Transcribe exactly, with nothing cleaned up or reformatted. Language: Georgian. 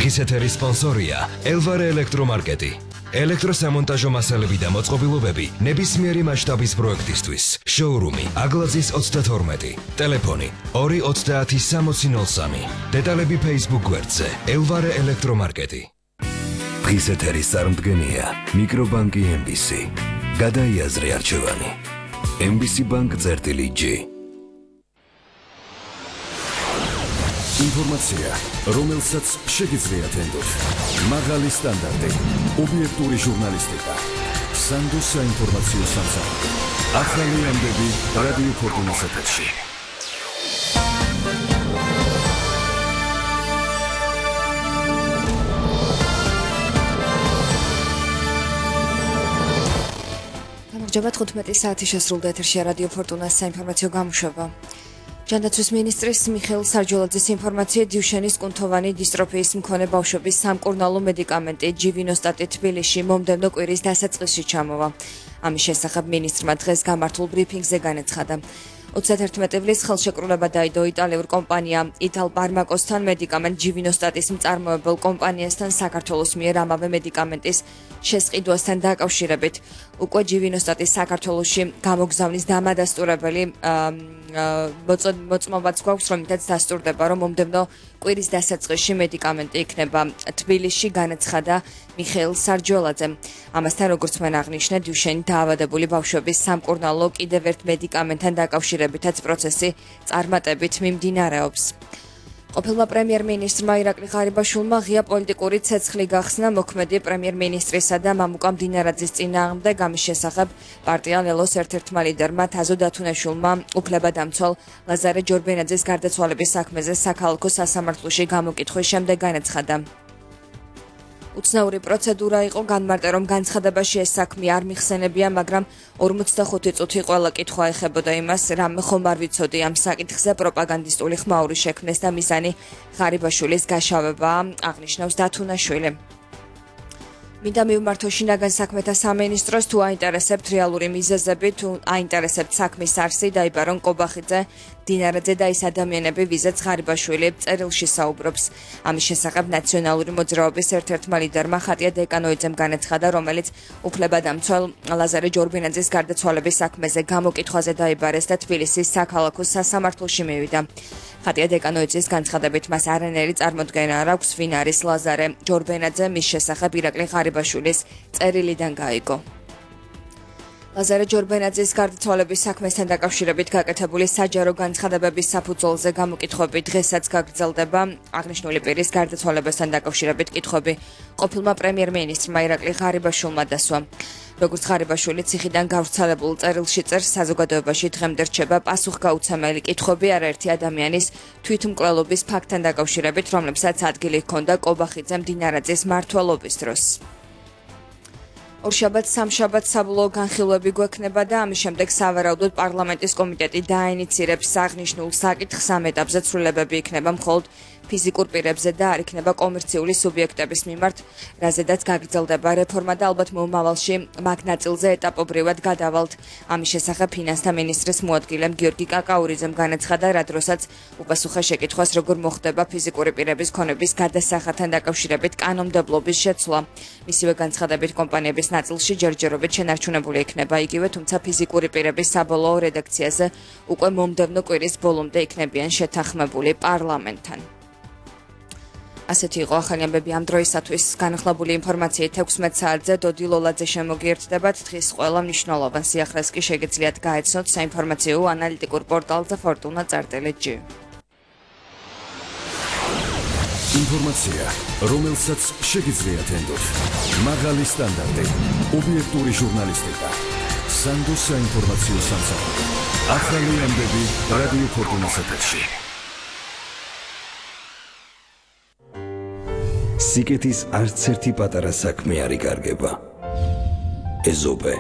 დღის ეთერის სპონსორია ელვარე ელექტრომარკეტი. ელექტროსამონტაჟო მასალები და მოწყობილობები ნებისმიერი მასშტაბის პროექტისთვის. შოურუმი აგლაძის ოცდათორმეტი. ტელეფონი ორი ოცდაათი სამოცი ნოლ სამი. დეტალები Facebook გვერდზე ელვარე ელექტრომარკეტი. დღის ეთერის წარმდგენია მიკრობანკი ემ ბი სი. გადაიაზრე არჩევანი. ემ ბი სი ბანკ წერტილი ჯი. ინფორმაცია, რომელსაც შეგიძლიათ ენდოთ. მაღალი სტანდარტი, ობიექტური ჟურნალისტიკა. სანდო საინფორმაციო სამსახური. ახალი ამბები რადიო ფორტუნას ეთერში. გამარჯობა, თხუთმეტი საათი შესრულდა ეთერში რადიო ფორტუნას საინფორმაციო გამოშვება. ჯანდაცვის მინისტრის მიხეილ სარჯოლაძის ინფორმაციით დიუშენის კუნთოვანი დისტროფიის მქონე ბავშვების სამკურნალო მედიკამენტი ჯივინოსტატი თბილისში მომდევნო კვირის დასაწყისში ჩამოვა. ამის შესახებ მინისტრმა დღეს გამართულ ბრიფინგზე განაცხადა. ოცდაათი ივლის ხელშეკრულება დაიდო იტალიურ კომპანია იტალპარმაკოსთან მედიკამენტ ჯივინოსტატის მწარმოებელ კომპანიასთან საქართველოს მიერ ამავე მედიკამენტის შესყიდვასთან დაკავშირებით. უკვე ჯივინოსტატის საქართველოში გამოგზავნის დამადასტურებელი მოწმობაც გვაქვს, რომლითაც დასტურდება, რომ მომდევნო კვირის დასაწყისში მედიკამენტი იქნება თბილისში, განაცხადა მიხეილ სარჯოლაძემ. ამასთან, როგორც მან აღნიშნა, დიუშენი დაავადებული ბავშვების სამკურნალო კიდევ ერთ მედიკამენტთან დაკავშირებითაც პროცესი წარმატებით მიმდინარეობს. ყოფილმა პრემიერ-მინისტრმა ირაკლი ღარიბაშვილმა ღია პოლიტიკური ცეცხლი გახსნა მოქმედი პრემიერ-მინისტრისა და მამუკა მდინარაძის წინააღმდეგ. ამის შესახებ პარტია ლელოს ერთ-ერთმა ლიდერმა თაზო დათუნაშვილმა უფლებადამცვალ ლაზარე ჯორბენაძის გარდაცვალების საქმეზე საქალაქო სასამართლოში გამოკითხვის შემდეგ განაცხადა. უცნაური პროცედურა იყო, განმარტა, რომ განცხადებაში ეს საქმე არ მიხსენებია, მაგრამ ორმოცდახუთი წუთი ყველა კითხვა ეხებოდა იმას, რამე ხომ არ ვიცოდი ამ საკითხზე პროპაგანდისტული ხმაური შექმნეს და მიზანი ღარიბაშვილის გაშავებაა, აღნიშნავს დათუნაშვილი. მინდა მივმართო შინაგან საქმეთა სამინისტროს, თუ აინტერესებთ რეალური მიზეზები, თუ აინტერესებთ საქმის არსი, დაიბარონ კობახიძე, დინარაძე და ის ადამიანები, ვიზაც ღარიბაშვილი წერილში საუბრობს. ამის შესახებ ნაციონალური მოძრაობის ერთ-ერთმა ლიდერმა ხატია დეკანოიძემ განაცხადა, რომელიც უფლებადამცვალ ლაზარე ჯორბენაძის გარდაცვალების საქმეზე გამოკითხვაზე დაიბარეს და თბილისის საქალაქო სასამართლოში მივიდა. ხატია დეკანოიძის განცხადებით მას არანაირი წარმოდგენა არ აქვს, ვინ არის ლაზარე ჯორბენაძე, მის შესახებ ირაკლი ღარიბაშვილის წერილიდან გაიგო. ლაზარე ჯორბენაძის გარდაცვალების საქმესთან დაკავშირებით გაკეთებული საჯარო განცხადებების საფუძველზე გამოკითხვები დღესაც გაგრძელდება. აღნიშნული პირის გარდაცვალებასთან დაკავშირებით კითხვები ყოფილმა პრემიერ-მინისტრმა ირაკლი ღარიბაშვილმა დასვა. როგორც ღარიბაშვილი ციხიდან გავრცელებულ წერილში წერს, საზოგადოებაში დღემდე რჩება პასუხგაუცემელი კითხვები არაერთი ადამიანის თვითმკვლელობის ფაქტთან დაკავშირებით, რომლებსაც ადგილი ჰქონდა კობახიძე მდინარაძის მმართველობის დროს. ორშაბათს სამშაბათს საბოლოო განხილვები გვექნება და ამის შემდეგ სავარაუდოდ პარლამენტის კომიტეტი დაინიცირებს აღნიშნულ საკითხს. ამ ეტაპზე ცვლილებები იქნება მხოლოდ ფიზიკურ პირებზე და არ იქნება კომერციული სუბიექტების მიმართ, რაზედაც გაგრძელდება რეფორმა და ალბათ მომავალში მაგ ნაწილზე ეტაპობრივად გადავალთ. ამის შესახებ ფინანსთა მინისტრის მოადგილემ გიორგი კაკაურიძემ განაცხადა, რა დროსაც უპასუხა შეკითხვას, როგორ მოხდება ფიზიკური პირების ქონების გადასახადთან დაკავშირებით კანონმდებლობის შეცვლა. მისივე განცხადებით კომპანიების ნაწილში ჯერჯერობით შენარჩუნებული იქნება იგივე, თუმცა ფიზიკური პირების საბოლოო რედაქციაზე უკვე მომდევნო კვირის ბოლომდე იქნებიან შეთანხმებული პარლამენტთან. ასეთი იყო ახალი ამბები ამ დროისათვის. განახლებული ინფორმაციით ექვსმეტ საათზე დოდი ლოლაძე შემოგიერთდებათ. დღის ყველა მნიშვნელოვან სიახლეს კი შეგიძლიათ გაეცნოთ საინფორმაციო ანალიტიკურ პორტალზე ფორტუნა წერტილი ჯი. ინფორმაცია, რომელსაც შეგიძლიათ ენდოთ. მაღალი სტანდარტი, ობიექტური ჟურნალისტიკა. სანდო საინფორმაციო სამსახური. ახალი ამბები რადიო ფორტუნას ეთერში. სიკეთის არც ერთი პატარა საქმე არ იკარგება. ეზობე